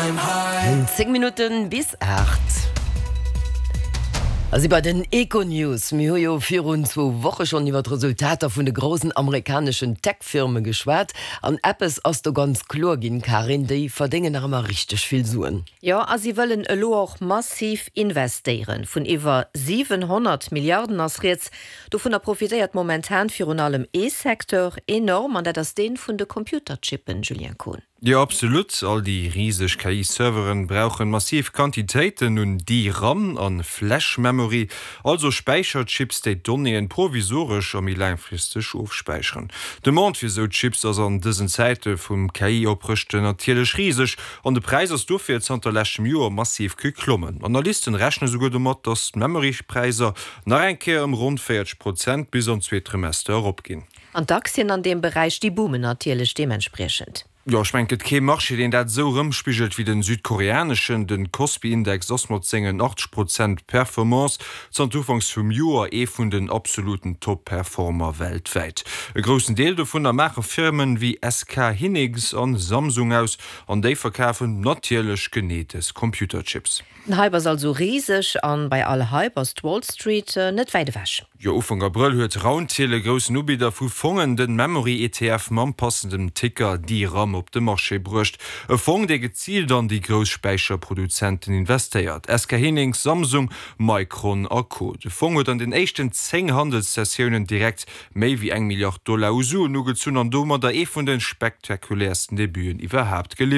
10 Minutten bis 8. A si bei den Econews. Mir hu jo virun zwou Woche schonn iwwer d'Resultater vun de groussen amerikaneschen Tech-Firme geschwat. An eppes ass do ganz kloer ginn, Karin, déi verdéngen nach ëmmer richteg vill Suen. Jo, a si wëllen elo och massiv investéieren. Vun iwwer 700 Milliarden ass rieds. Dovunner profitéiert momentan virun allem ee Secteur enorm, an dat ass dee vun de Computerchippen, Julien Kohn. Jo absolut, all déi riseg KI-Serveren brauchen massiv Quantitéiten un DRAM an Flash Memory, also Späicherchips déi d'Donnéeën provisoresch a méi laangfristeg ofspäicheren. D'Demande fir esou Chips ass an dësen Zäite vum KI-Oprëschten natierlech riseg an de Präis ass dofir zanter leschtem Joer massiv geklommen. Analysten rechne souguer domat, dass d'Memory-Präiser nach eng Kéier ëm ronn 40 Prozent bis an d'zweet Trimester eropginn. An d'Aktien an deem Beräich, déi boomen natierlech deementspriechend. Jo, ech mengen, et gëtt kee Marché, deen dat esou erëmspigelt wéi den südkoreaneschen. Den Kospi-Index ass mat sengen 80 Prozent Performance zanter Ufanks vum Joer ee vun den absoluten Top-Performer weltwäit. E groussen Deel dovunner maache Firmen wéi SK Hynix an Samsung aus, an déi verkafen natierlech genee dës Computerchips. Den Hype ass also riseg, an bei all Hype ass d'Wall Street net wäit ewech. Jo, Ufank Abrëll huet Roundhill, e groussen Ubidder vu Fongen, den Memory-ETF mam passendem Ticker DRAM op de Marché bruecht. E Fong, dee geziilt an déi grouss Späicherproduzenten investéiert, SK Hynix, Samsung, Micron a Co. De Fong huet an den éischten 10 Handelssessiounen direkt méi wéi eng Milliard Dollar u Suen ugezunn an domadder ee vun de spektakuläersten Debuten iwwerhaapt geliwwert.